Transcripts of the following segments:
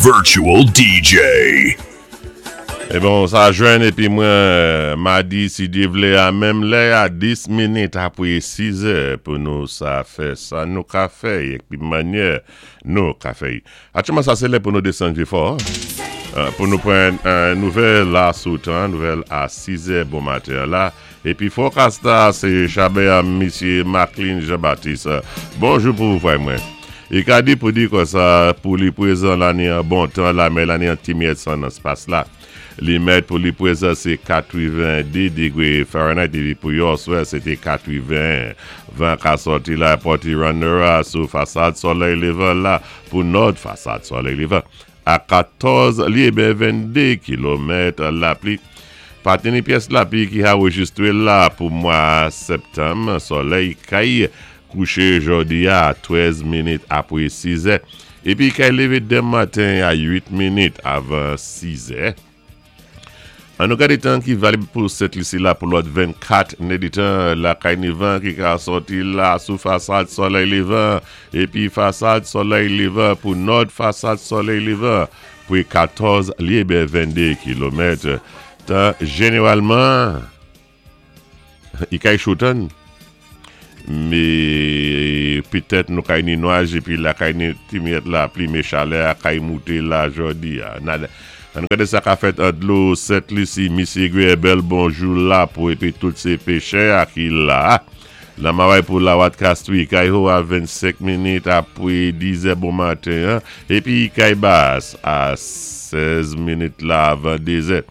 Virtual DJ. E bon, sa jwenn epi mwen madi si Dye vle a menm lè a 10 minit apre 6 è pou nou sa fè sa nou ka fè epi manyè nou ka fè. Aktyèlman sa se lè pou nou desann Vyefò pou nou pran nouvèl la sou tan, nouvèl a 6 è bon maten an la. Epi forecast la se chabè a misye Macklin Jean Baptiste. Bonjou pou ou frè mwen. I ka di pou di konsa pou li prezan lani an bon tan lame lani an ti myèt san nan spas la. Li mèt pou li prezan se 82 degre Fahrenheit epi pou yò swè se te 81. Van ka sòti la pòti runner a sou fasad solèy levan la pou nòd fasad solèy levan a 14 lye ben 22 kilomèt lapli. Pa teni pyès lapli ki arejistre la pou mwa septanm solèy kay Kouche jodi a a 13 minit apre 6 zè epi kay leve dem maten a 8 minit avan 6 zè. An nou gade tan ki valib pou Sent Lisi la pou lòt 24 nèditan lakay ni van ki ka sòti la sou fasad solèy levan epi fasad solèy levan pou nòd fasad solèy levan pre 14 lye 22 kilomèt tan jeneralman. I kay cho tann. Me petèt nou kay ni nwaj epi lakay ni ti myèt lapli me chalè a kay moute la jòdi a. Nan ann gade sa ka fèt an dlo Sent Lisi misye Guer bèl bonjou la pou epi tout se pechè a ki la a. Nan maway pou lawat kastwi kay ho a 25 minit apre 10 zè bon maten an epi kay bas a 16 minit la avan 2 zè.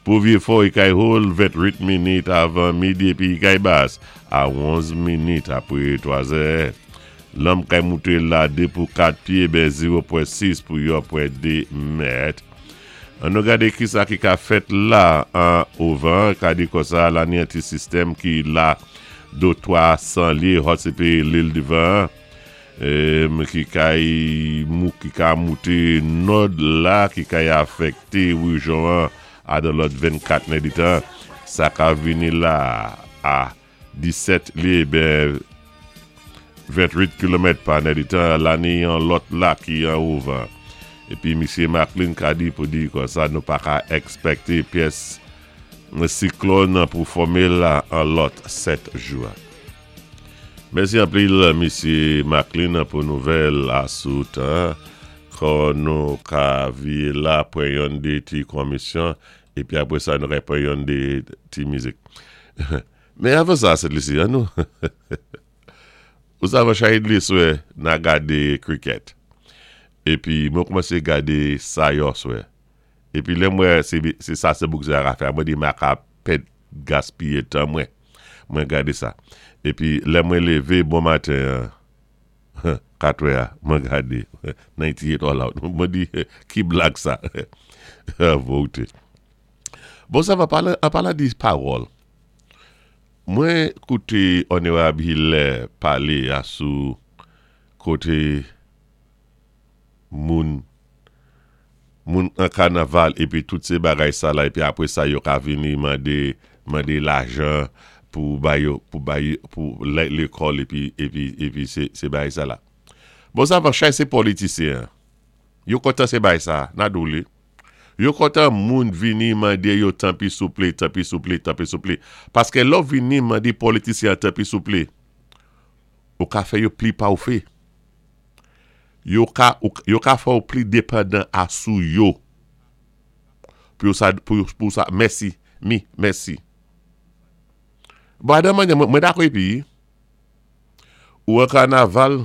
Pou Vyefò e kay Hall 28 minit avan midi epi kay Bas a 11 minit apre 3 zè. Lanm kay moute la 2 pou 4 pye ben 0 pwen 6 pou yon pwen 2 mèt. An nou gade kisa ki ka fèt la an ovan ka di konsa lani an ti sistèm ki la do 300 lye hot se pe lil divan an ki kay mou ki ka moute nòd la ki kay afèkte rejyon an a dan lòt 24 nèditan sa ka vini la a 17 lye ben 28 kilomèt pa nèditan la ni yon lòt la ki an ouvan epi misye Macklin ka di pou di konsa nou pa ka ekspekte pyès siklòn pou fòme la an lòt 7 jou a. Mèsi anpil mesye Macklin pou nouvèl a sou tan kò nou ka vye la pran yonn de ti konmisyon epi apre sa nou ka pran yonn de ti mizik men avan sa Sent Lisi an nou ou savan Shahid leswè na gade krikèt epi mwen koumanse gade sa yòswè epi lèm wè se sa se boukzè a ka fè a mwen di ma ka pèd gaspiye tan mwen mwen gade sa epi lè mwen leve bon maten an katrè a mwen gade 98 all out mwen di ki blag sa vote bon sa va pale an palan de pawòl mwen koute Onerab Hilaire pale a sou kote moun moun an kanaval epi tout se bagay sa la epi apre sa yo ka vini mande mande lajan pou bay yo pou bay pou lè lekòl epi epi epi se se bagay sa la bon sa va chay se politisyen an yo kontan se bay sa na di w li yo kontan moun vini mande yo tanpi souple tanpi souple tanpi souple paske lè w vini mande politisyen an tanpi souple ou ka fè yo pli pa w fe. Yo ka yo ka fè w pli depandan a sou yo pou yo sa pou pou sa mèsi mi mèsi bon adan manyè mwen dakò epi ou an kanaval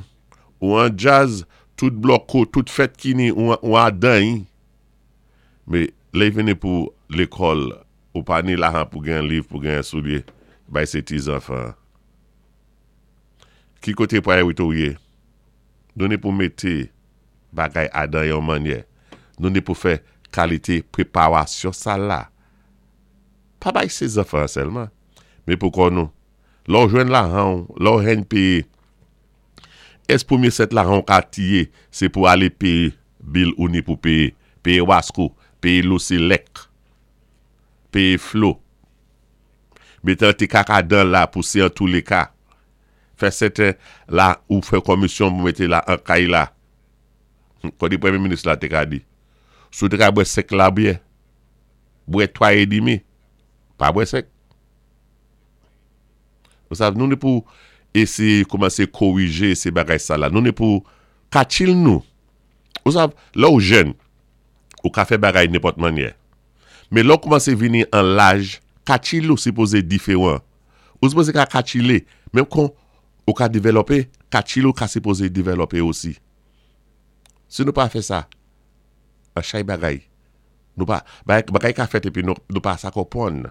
ou an djaz tout blòko tout fèt kini ou ou adan yi me lè y vini pou lekòl ou pa ni lajan pou gen liv pou gen soulye bay se ti zanfan an. Ki kote priorite w ye? Nou ni pou mete bagay adan yon manyè. Nou ni pou fè kalite preparasyon sa la. Pa bay se zanfan an sèlman, men pou kò nou. Lè w jwenn lajan w, lè w henn peye, es premye sèt lajan w ka tiye se pou ale peye bil ou ni pou peye, peye wasko, peye loselèk, peye flo. Mete an ti kaka dan la pou se an tou le ka. Fè sèten la ou fè komisyon pou mete la an kay la. Kòdi premye minis la te ka di. Si ou té ka bwè 5 labyè, bwè 3 é dimi, pa bwè 5. Ou sav, nou ni pou éséyé koumansé kowijé sé bagay sa la. Nou ni pou kachil nou. Ou sav, lè ou jèn, ou ka fè bagay nenpòt mannyè. Men lè ou koumanse vini an laj, kachil ou sipoze diferan. Ou sipoze ka kachile, menm kon ou ka devèlòpe, kachil ou ka sipoze devèlòpe osi. Si nou pa fè sa, an chay bagay, nou pa, bagay ka fèt epi nou pa sa konpwann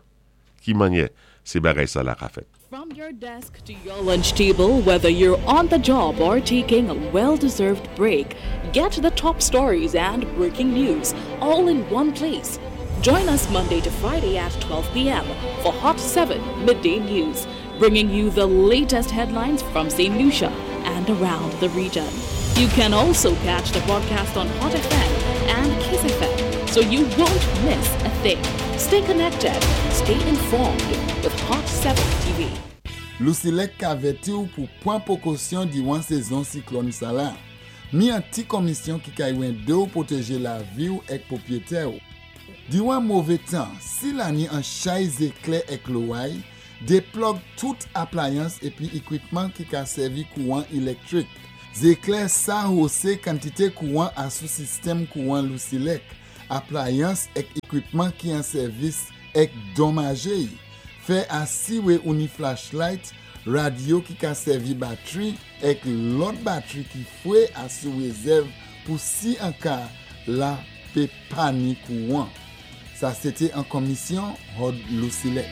ki mannyè sé bagay sa la ka fèt. From your desk to your lunch table, whether you're on the job or taking a well deserved break, get the top stories and breaking news all in one place. Join us Monday to Friday at 12 p.m. for Hot 7 Midday News, bringing you the latest headlines from St. Lucia and around the region. You can also catch the broadcast on Hot FM and Kiss FM, so you won't miss a thing. Stay connected, stay informed with Hot 7 TV. Lusilec ka vèti ou pou pwan pwékosyon diwan sézon siklòn sa la. Mi an ti konmisyon ki kay wendé ou pwotéjé lavi ou èk pwopwétè ou. Diwan mové tan, si la ni an chay zéklè èk loway, déplòg tout aplayans épi ikwipman ki ka sèvi kouwan ilèktwik. Zéklè sa hosé kantité kouwan asou sistèm kouwan Lusilec, aplayans èk ikwipman ki an sèvis èk donmaje y. Fè asiwé ou ni flashlight, radyo ki ka sèvi batri èk lòt batri ki fwé asou rézèv pou si an ka la pé pa ni kouwan. Sa sété an konmisyon Hod Lusilec.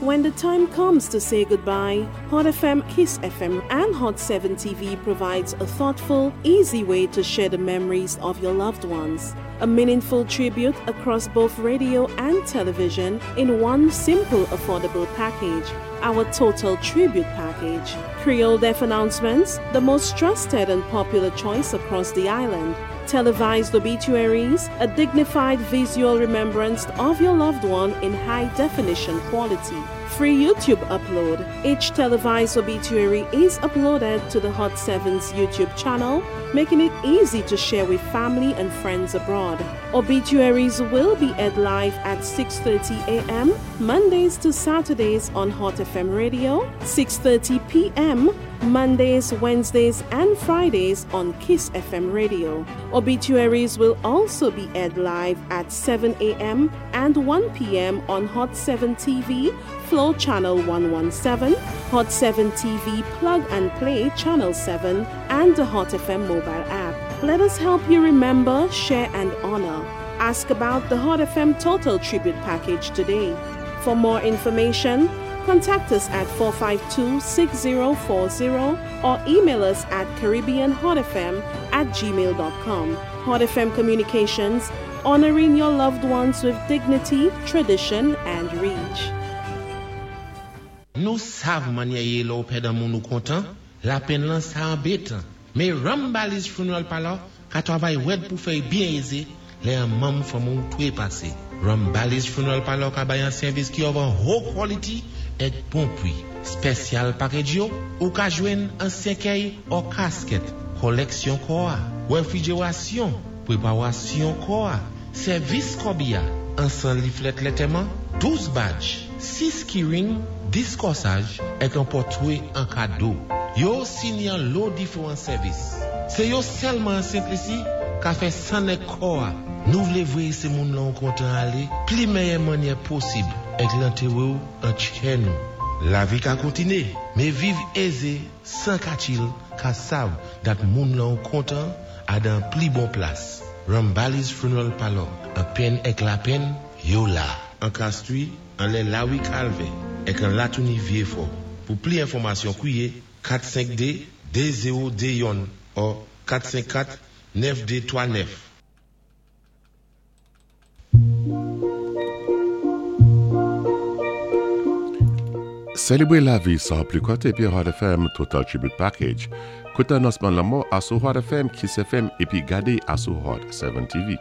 When the time comes to say goodbye, Hot FM, Kiss FM, and Hot 7 TV provides a thoughtful, easy way to share the memories of your loved ones. A meaningful tribute across both radio and television in one simple, affordable package. Our Total Tribute Package. Creole Death Announcements, the most trusted and popular choice across the island. Televised obituaries, a dignified visual remembrance of your loved one in high definition quality. Free YouTube upload. Each televised obituary is uploaded to the Hot 7's YouTube channel, making it easy to share with family and friends abroad. Obituaries will be aired live at 6:30 a.m. Mondays to Saturdays on Hot FM Radio, 6:30 p.m. Mondays, Wednesdays, and Fridays on Kiss FM Radio. Obituaries will also be aired live at 7 a.m. and 1 p.m. on Hot 7 TV, Flow Channel 117, Hot 7 TV Plug and Play Channel 7, and the Hot FM mobile app. Let us help you remember, share, and honor. Ask about the Hot FM Total Tribute Package today. For more information, contact us at 452-6040 or email us at caribbeanhotfm@gmail.com. Hot FM Communications, honoring your loved ones with dignity, tradition, and reach. Nou sav mannyè yé lè ou pèd an moun ou kontan, lapenn lan sa anbétan. Mé Rambali's Funeral Parlor ka twavay wèd pou fè y byen ézé lè an manm fanmi ou twépasé. Rambali's Funeral Parlor ka bay an sèvis ki of an ho quality èk bon pwi. Spèsyal package yo, ou ka jwenn an sèkèy or casket, kòlèksyon kò a, wèfrijérasyon, pwépawasyon kò a, sèvis kòbi a, an 100 leaflet lètèman, 12 badge, 6 keyring, 10 kòsaj, èk an pòtwé an kado. Yo osi ni an lo diféwan sèvis. Sé yo sèlman an Sent Lisi ka fè san èk kò a. Nou vlé vwéyé sé moun lan ou kontan alé pli mèyè mannyè posib èk lantéwé ou an tchè nou. Lavi ka kontiné, mé viv ézé san katchil ka sav dat moun lan ou kontan a dan pli bon plas. Rambali's Funeral Parlor, an penn èk lapenn, yo la. An Castries, anlè Lawi Kalvè, èk an Latouni Vyéfò. Pou pli enfòmasyon kwiyé 452 2021 or 454 9239. Sélébré lavi san pli kòt épi Hot FM Total Tribute Package. Kouté anonsman lanmò asou Hot FM, Kiss FM épi gadé asou Hot 7 TV.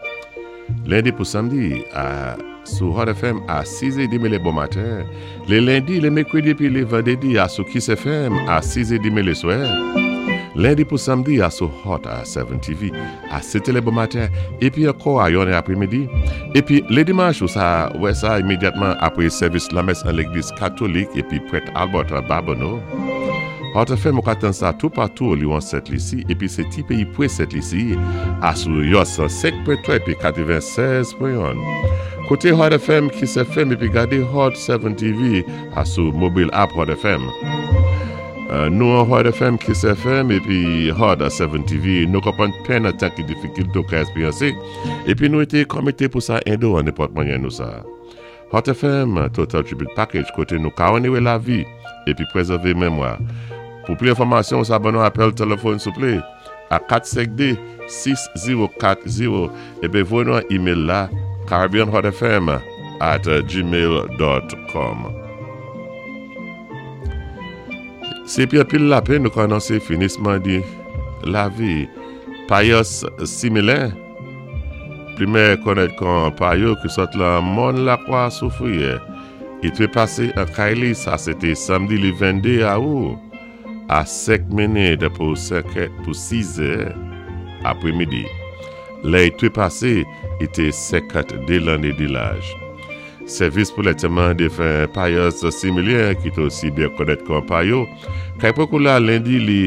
Lendi pou samdi a sou Hot FM a 6h30 lé bon maten. Lé lendi, lé mèkwédi épi lé vandédi asou Kiss FM a 6h30 lé swè. Lendi pou samdi asou Hot 7 TV a 7 è bon maten épi ankò a 1 apwémidi. Épi lé dimanch ou sa wè sa imédyatman apwé sèvis lamès an légliz katolik épi prèt Albert Babonneau. Hot FM, ou ka tann sa toupatou diwan Sent Lisi épi sé ti péyi pwé Sent Lisi asou yo 105.3 épi 96.1. Kouté Hot FM, Kiss FM épi gadé Hot 7 TV asou mobile app Hot FM. Nou an Hot FM, Kiss FM épi Hot 7 TV, nou konpwann penn an tan ki difikilté ou ka èspéryansé épi nou été konmité pou sa édé ou an nenpòt mwanyen nou sa. Hot FM, Total Tribute Package, koté nou ka onoré lavi épi pwézèvé mémwa. Pou pli enfòmasyon, sa ban nou apèl téléfòn souplé a 452 6040 épi voyé nou an email la caribbeanhotfm@gmail.com. Sé pi anpil lapenn nou ka anonsé finisman di lavi Payos Similin, pli mèyè konnèt kon Payo ki sot lan Mòn Lakwa Soufriyè. I trépasé an kay li, sa sété samdi li 22 awou a 5 minit pou 5 è pou 6 è apwémidi. Lè i trépasé, i té 52 lanné di laj. Sèvis pou lantèman défen Payos Similien ki té osi byen konnèt kon Payo, kay pran kou la lendi li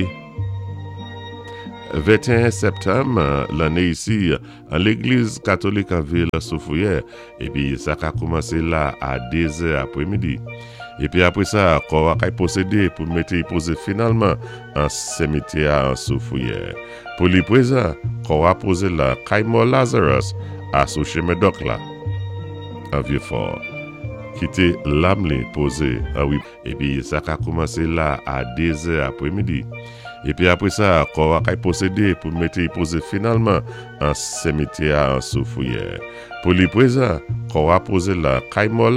21 sèptanm lanné isi an légliz katolik an vil Soufriyè épi sa ka koumansé la a 2 zè apwémidi. Épi apwé sa kò a kay pwosédé pou mété i pozé finalman an semityè a an Soufriyè. Pou li pwézan, kò a pozé la kay mò Lazarus a sou chemen dòk la an Vyefò. Kité lam li pozé an wi. Épi sa ka koumansé la a 2 zè apwémidi. Épi apwé sa, kò a kay pwosédé pou mété i pozé finalman an semityè a an Soufriyè. Pou li pwézan, kò a pozé la kay mò.